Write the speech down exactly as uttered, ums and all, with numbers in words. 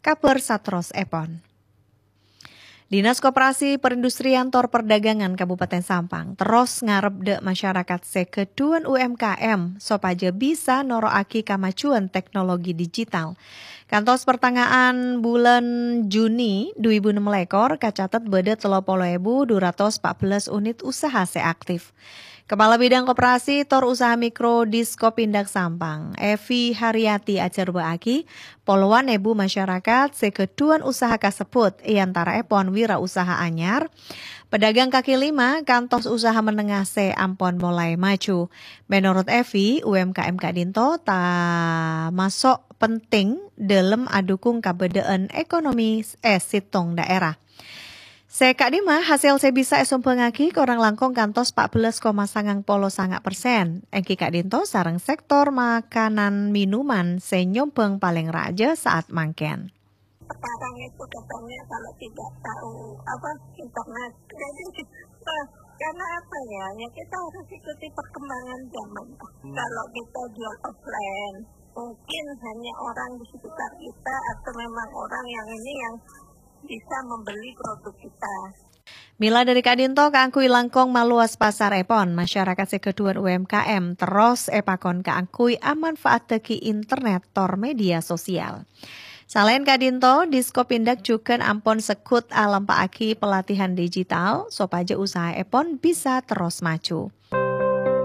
Kabhâr saterrossèpon. Dinas Koperasi Perindustrian tor Perdagangan Kabupaten Sampang terros ngarep dâ' masyarakat sè ghâdhuwân U M K M sopajâ bisa noro'aghi kamajuwân teknologi digital. Kantos pertengahan bulân Juni du èbu ennem lèkor, kacatet bâdâ tello polo èbu du ratos pa' bellâs unit usaha sè aktif. Kepala Bidang Koperasi tor Usaha Mikro Diskomindag Sampang, Evi Haryati ajhârbâ'âghi, polowan èbu masyarakat sè ghâdhuwân usaha kasebbhut, è antaraèpon wirausaha anyar, pedagang kaki lima, kantos usaha menengah sè ampon molaè maju. Menorot Evi, U M K M ka'dinto tamaso' penting dâlem adhukung kabâdâ'ân ekonomi è sèttong daerah. Sè ka'dimma, hasèl sè bisa èsombhângaghi korang langkong kantos pa' bellâs koma sangang polo sanga' persen, èngghi ka'dinto sareng sektor makanan minuman sè nyombhâng palèng rajâ saat mangkèn. Sekarang itu katanya kalau tidak tahu apa internet. Jadi, eh, karena apa ya? Ya kita harus ikuti perkembangan zaman. Kalau kita jual offline, mungkin hanya orang di sekitar kita atau memang orang yang ini yang bisa membeli produk kita. Mèla dâri ka'dinto kaangghuy langkong malowas pasarèpon, masyarakat sè ghâdhuwân U M K M terros èpakon kaangghuy amanfaattaghi internet tor media sosial. Salaèn ka'dinto, Diskomindag jhughân ampon segghut alampa'aghi pelatihan digital sopajâ usahaèpon bisa terros maju.